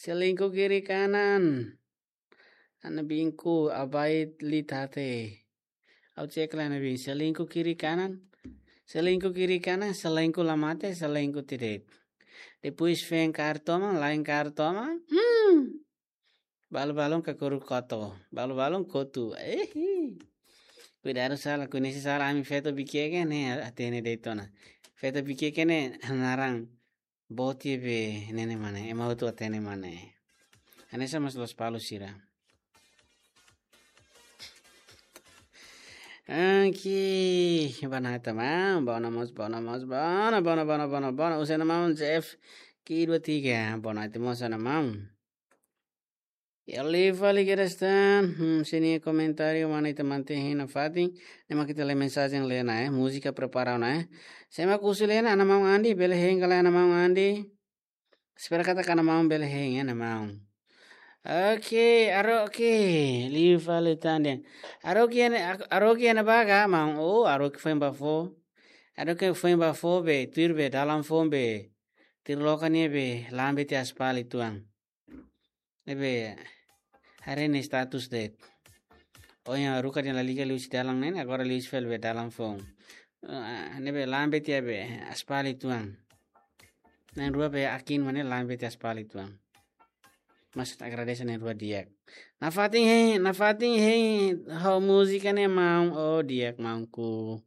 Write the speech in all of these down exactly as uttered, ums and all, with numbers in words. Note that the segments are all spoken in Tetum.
Selingkuh kiri kanan. Ana binku abai litate. Au cek la ana bin selingkuh kiri kanan. Selingkuh kiri kanan, selingkuh la mate, selingkuh tidet. Depois fen kartoma, lain kartoma. Hmm. Balu-balun kakuru koto. Balu-balun kotu. Eh. Kuidadu sala, koñese sala ami feto bikieke ne'e hatene de'it ona. Feto bikieke ne'e naran. Boti be nene mane, ema hotu hatene mane. Hanesan mas Lospalos sira. Aki, banata ma, bona mós, bona mós, bona, bona, bona, bona, bona. Husi Ana Maun Jeff, ki dua tiga, bona ati mós Ana Maun. Iha liu fali kedas tan, hmm, sini komentáriu mana ita mantein hein nafatin, ne'e mak ita lee mensajen Lena, eh, múzika prepara ona, eh. Sé mak husi Lena, Ana Maun Andi, bele hein ka lae Ana Maun Andi. Espera katak Ana Maun bele hein, Ana Maun. Oke, Aroki, liu fali tan dehan. Aroki iha ne'e, Aroki iha ne'ebá ka, maun? Oh, Aroki foin bá fó. Aroki foin bá fó be, tuir be, dalan foun be. Tuir loke nia be, lambe tiha aspal uitoan. Ne'ebé haree nia status de'it. Ohin haruka dehan lalika liu husi dalan neen, agora liu husi fali be dalan foun. Ah, ne'ebé lambe tiha be aspal uitoan. Na'in-rua be akin mane lambe tiha aspal uitoan. Mas agradese na'in-rua di'ak. Nafatin hein, nafatin hein ho múzika ne'e maun, oh di'ak maunku.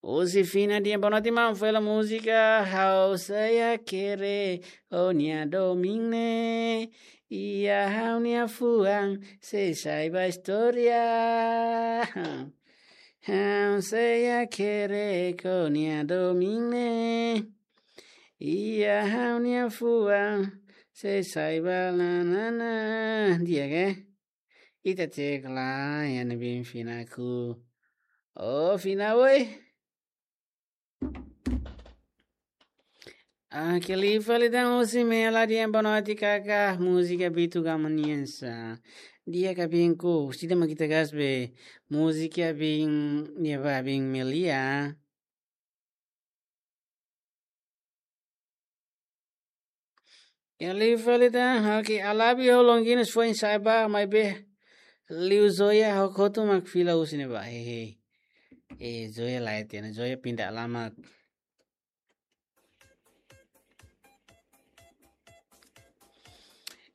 Husi Fina dehan boa noite maun, fó hela múzika Ha'u Sei Hakerek Ó-nia Domin Ne'e. Iha ha'u-nia fuan sei sai ba istória. Ha'u sei hakerek ó-nia domin ne'e. Iha ha'u-nia fuan sei sai ba nanana. Di'ak ka? Ita cek lai, iha ne'ebé Fina ku. Oh, Fina, oi. Ah, ke li fali tan husi Mela dehan boa noite kaka, múzika Bitu Gama nian sa. Di'ak ka binku, sida mak ita gas be, múzika bin, nia ba bin Melia. Iha liu fali tan, oke, Alabi ho Longinos foin sai ba, maibé liu Zoya ho Kotu mak fila husi ne'ebá, hehe. Eh, Zoya lae tiha ona, Zoya pindah alamat.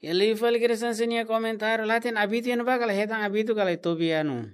Iha liu fali kedas tan sira-nia komentáriu, la hatene Abitu iha ne'ebá ka lae, hetan Abitu ka lae, Tobiano.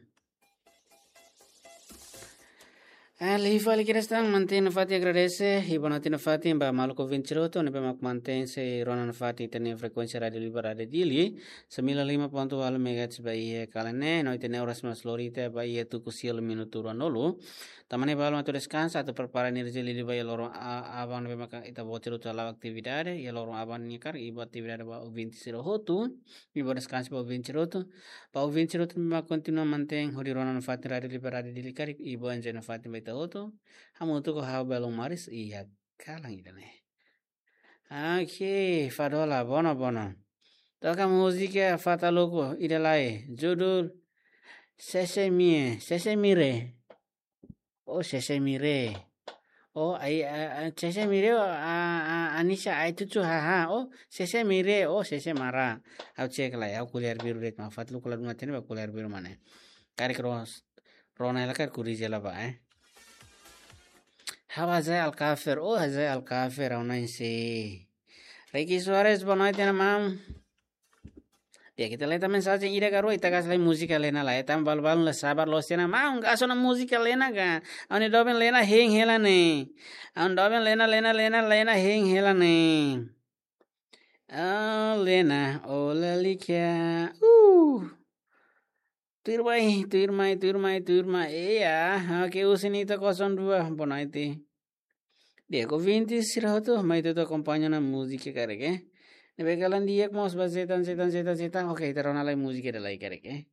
Ah, liu fali kedas tan, mantein nafatin agradese, i boa noite nafatin ba maluk ouvinte sira hotu ne'ebé mak mantein sei rona nafatin ita-nia frekuénsia Rádiu Libar Rádiu Dili, sembilan lima ponto walu megahertz ba iha kalan ne'e, no ita-nia oras mak lori tiha ba iha tuku sia liu minutu ruanulu. Tanba ne'e balu atu deskansa, atu prepara enerjia liuliu ba iha loron a-, aban ne'ebé maka ita-boot sira hotu hala'o atividade, iha loron aban nia karik, i boa atividade ba ouvinte sira hotu, i boa deskansa ba ouvinte sira hotu. Ba ouvinte sira hotu ne'ebé mak kontinua mantein hodi rona nafatin Rádiu Libar Rádiu Dili karik, i boa enjoy nafatin ba ita hotu. Hamutuk ho ha'u Belun Maris, iha kalan ida-ne'e. Oke, Fadola, bono, bono. Toka múzika Fataluku, ida lai, judul Sese Mie, Sese Mire. Oh, Sese Mire. Oh, ai, a, a, Sese Mire, oh, a, a, Anissa, ai, tutu, haha. Oh, Sese Mire, oh, Sese Mara. Ha'u cek lai, ha'u ko'alia arbiru de'it, maun Fataluku la dún hatene ba ko'alia arbiru mane. Karik ros, rona hela karik korrije hela ba, eh. Ha'u Hazai Alkafer, oh, Hazai Alkafer, ha'u na'in sei. Ricky Soares, boa noite, Ana Maun. Di'ak, ita lee tan mensajen ida ka rua, ita gas lai múzika Lena lai. Ita balu-balu la sabar loos tiha ona, maun, gas ona múzika Lena ka. Ha'u-nia doben Lena hein hela ne'e. Ha'u-nia doben Lena, Lena, Lena, Lena hein hela ne'e. Oh, Lena, oh, lalika. Uh. Tuir mai, tuir mai, tuir mai, tuir mai. Iya, oke, husi Nita kosong dua, boa noite. Di'ak, ouvinte sira hotu, mai ita akompaña ona múzika karik, eh. Ne'ebé kalan di'ak mós ba zetan, zetan, zetan, zetan. Oke, ita rona lai múzika ida lai karik, eh.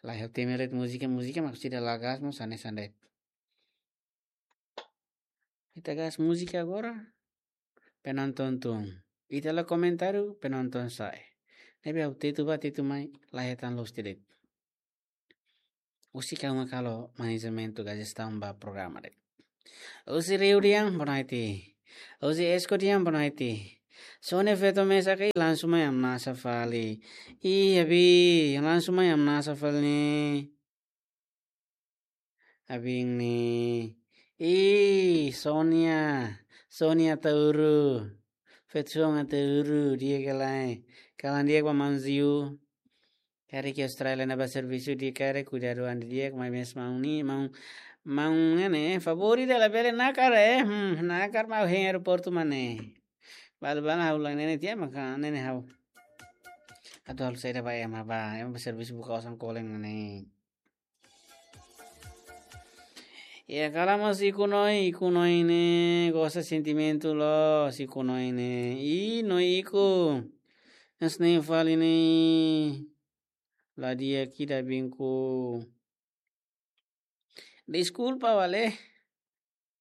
Lai ha'u temi de'it múzika, múzika mak sida la gas mós hanesan de'it. Ita gas múzika agora. Penonton tun. Ita la komentáriu, penonton sa'e. Ne'ebé ha'u tetu bá, tetu mai, la hetan loos tiha de'it. Husi kau mak halo manajementu ka jestaun ba programa de'it. Husi Rio dehan, boa noite. Husi Esko dehan, boa noite. Sonia feto mesak, ih, langsung mai hamnasa fali. Ih, abi, langsung mai hamnasa fali ne'e. Abin ne'e. Ih, Sonia. Sonia Tauru. Feto Sonia Tauru, di'ak ka lae? Kalan di'ak ba maun Ziu. Karik iha Austrália ne'e bá servisu di'ak, karik kuidadu an di'ak, maibé maun ne'e, maun, maun ne'e, favór ida labele nakar, eh. Hmm, nakar maun hein aeroportu mak ne'e. Balu-balu ha'u la ne'e tiha maka ne'e ha'u. Atu halo saida ba ema ba, ema bá servisu buka osan kolen ne'e. Ya, kala mós ikus-oin, ikus-oin ne'e, gosta sentimentu loos ikus-oin ne'e. Ih, no ikus. Hanesan ne'e fali ne'e. La di'ak ida abinku. Deskulpa wale.